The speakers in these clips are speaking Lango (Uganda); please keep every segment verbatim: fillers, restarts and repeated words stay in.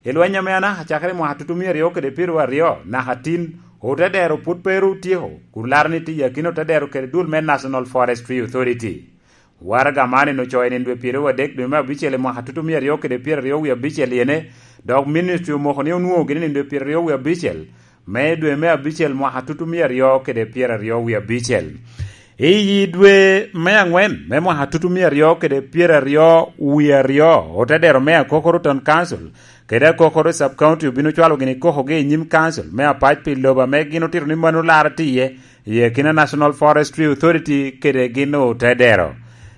I lweny ame anaka cakere i mwaka tutumia aryo kede pyeraryo naka tin, otedero pwod pe ru otyeko, kun laro ni tye i akina otedero kede dul me National Forestry Authority. Waraga man en ocoyo i nino dwe pyeraryo adek dwe me abicel i mwaka tutumia aryo kede pyeraryo wie abicel iene, dok ministry omoko ni onwoŋo gini nino dwe pyeraryo wie abicel me dwe me abicel mwaka tutumia aryo kede pyeraryo wie abicel. I yi dwe me aŋwen me mwaka tutumia aryo kede pyeraryo wie aryo, otedero me Akokoro Town Council kede Akokoro Sub County obino cwalo gini kokogi i nyim council me apac pi lobo ame gin otito ni mano laro tye iye, i akina National Forestry Authority kede gin otedero.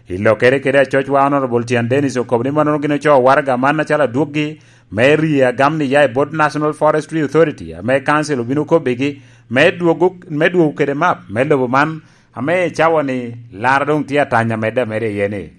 I lokere kede acocwa, Honorable Tian Dennis okobo ni mannono gin ocoo waraga man acalo adwoggi me rie agam ni ya i bot National Forestry Authority, ame council obino kobbigi me dwogo, me dwogo kede map me lobo man, ame i cawa ni laro doŋ tye atanya medde ameda iye ni.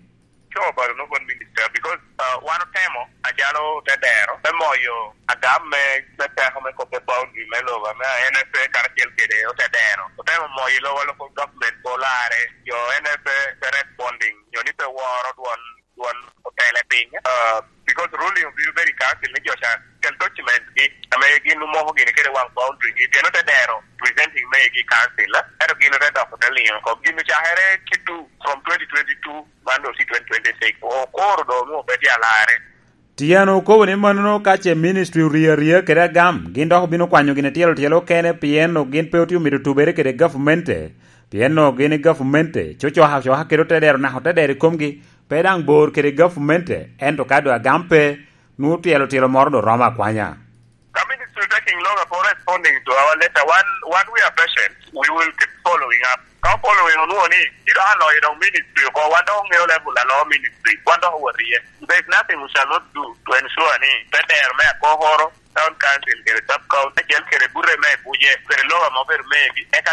Sure about no one minister because, uh, wan otemo acalo te dero me moyo agam me, me teko me kobbe boundary me lobo ame N F A karacel kede ote dero. Otemo moyo i lobo local government ko lare, jo N F A pe responding, jo ni pe woro dwon, dwon otele piny. Uh, because ruling obiro bedo i council ni jo ca kel document gi ame gin omoko gini kede wang boundary gi, pien ote dero presenting me gi council, eh? Ento gin ote dok ote liŋo oko. Gin ocakere kitu from twenty twenty-two, man doŋ tye twenty twenty-six. Okoro doŋ onwoŋo pe tye alarre. Tian okobo ni mannono ka ce ministry orio aria kede agam, gin dok obino kwanyo gin tyelo tyelo okene, pien onwoŋo gin pe otye omito tubere kede gavumente, pien onwoŋo gin i gavumente cocoka coka kede otedero naka otedero i komgi, pe daŋ bor kede gavumente, ento ka doŋ agam pe, nwoŋo tyelo tyelo moro doŋ romo akwanya. Ka ministry taking longer for responding to our letter, one, one we are patient, we will keep following up. Ka following onwoŋo ni, kit aloyo doŋ ministry oko, wan dok oŋeo level alo ministry, wan dok owot iye. There is nothing we shall not do to ensure ni pe dero me Akokoro, Town Council kede Sub County, acel kede bute me Buje, kede lobo ame obedo megi, eka